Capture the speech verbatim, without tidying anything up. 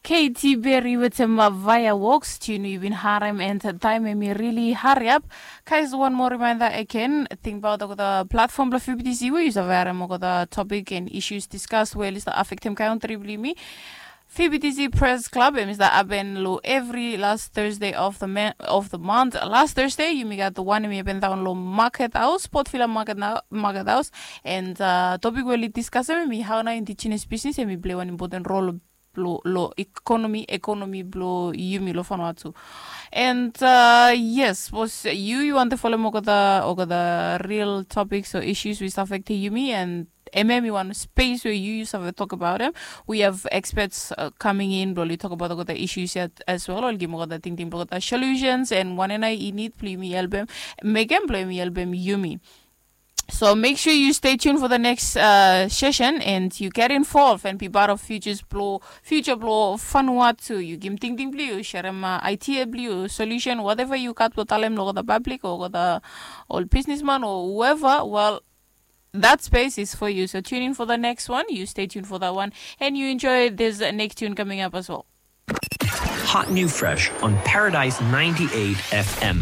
Katy Perry wetem Fireworks, tune we yu bin harem, and taem hemi rili hariap. Guys, one more reminder again, tingbaot olgeta platform blong F B T C we yu save harem olgeta topic and issues discussed we oli stap afektem kantri blong yumi. F B T C Press Club hemi stap hapen long evri last Thursday of the, ma- of the month. Last Thursday yumi gat wan hemi hapen daon long Market House, Port Vila Market, na, Market House. And uh, topic we oli diskasem hemi hao nao indigenous business hemi play wan important role long, long economy, economy blong yumi long Vanuatu. And uh, yes, sapos yu yu wantem folem olgeta, olgeta real topics o issues we stap afektem yumi, and hemia hemi wan space we yu yu save tokbaot hem. We have experts uh, coming in blong oli tokbaot olgeta issues ya as well. Oli givim olgeta tingting blong olgeta solutions and wanem nao i nid blong yumi helpem mekem blong yumi helpem yumi. So make sure you stay tuned for the next uh, session and you get involved and be part of futures blong, future blong Vanuatu. Yu givim tingting blong yu, serem uh, idea blong yu, solution, whatever yu gat blong talem long olgeta public o olgeta ol businessman o whoever. Well, that space is for you. So tune in for the next one. You stay tuned for that one and you enjoy this next tune coming up as well. Hot new fresh on Paradise ninety-eight F M.